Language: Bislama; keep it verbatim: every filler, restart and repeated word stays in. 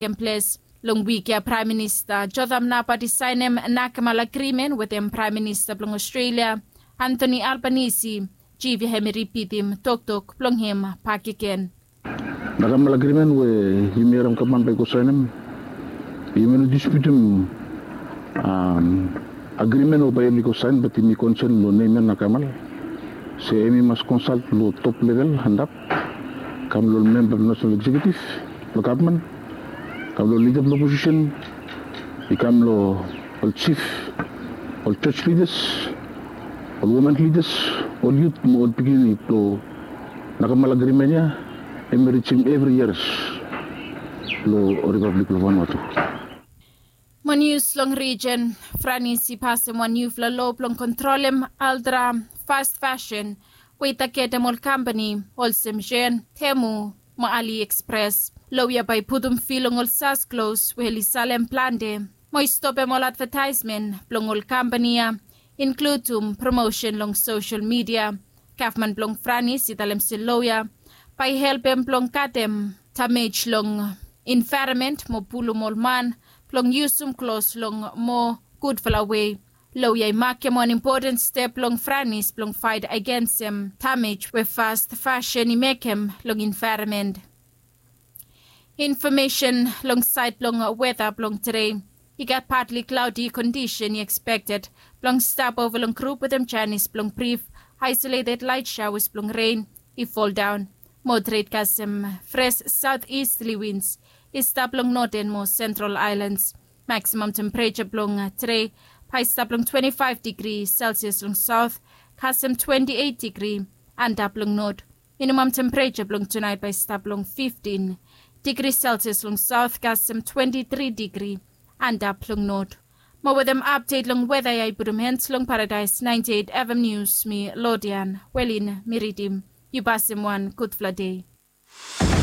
Takem ples long wik ya, Praem Minista Jotham Napat i saenem nakmal agrimen wetem Praem Minista blong Australia, Anthony Albanese. Jif ya hem i ripitim toktok blong hem bakegen. Nakmal agrimen we yumi harim gavman bae i go saenem, yumi no disputim agrimen we bae oli go saen, bat yumi konsen long nem ya nakmal. Se hem i mas konsalt long top level antap, kam long ol memba blong nasenal eksekiutiv blong gavman, kam long lida blong oposisen, i kam long ol jif, ol jos lidas, ol women lidas, ol yut mo ol pikinini blong nakmal agrimen ya hem i rijim evri yias long Ripablik blong Vanuatu. Mo nius long rijen, Franis i pasem wan niufala loa blong kontrolem altra fast fasen we i tagetem ol kampani olsem Shein, Temu mo AliExpress. Loa ya bae i putum fee long ol sas klos we oli salem plante mo i stopem ol advetaesmen blong ol kampani ya, inkludim promosen long sosel midia. Gavman blong Franis i talem se loa ya bae i helpem blong katem damej long envaeronmen mo pulum ol man blong yusum klos long moa gudfala wei. Loa ya i makem wan impoten step blong Franis blong faet agensem damej we fast fasen i mekem long envaeronmen. Infomesen long saed blong weta blong tede. I gat patli klaodi kondisen i ekspekted blong stap ova long grup wetem janis blong brif, aesoleted laet shaoas blong ren i foldaon. Moderet kasem fres saoteasterli wins i stap long noten mo sentral aelans. Maksimam tempereja blong tede bae i stap long twante faef digri selsias long saot, kasem twante eit digri antap long not. Minimam tempereja blong tunaet bae i stap long fiftin digri selsias long saot, kasem twante tri digri antap long not. Mo wetem apdet long weta ya i putum hens long Paradaes naenti eit FM Nius, mi Lodian Welin mi ridim. Yu pasem wan gudfala dei.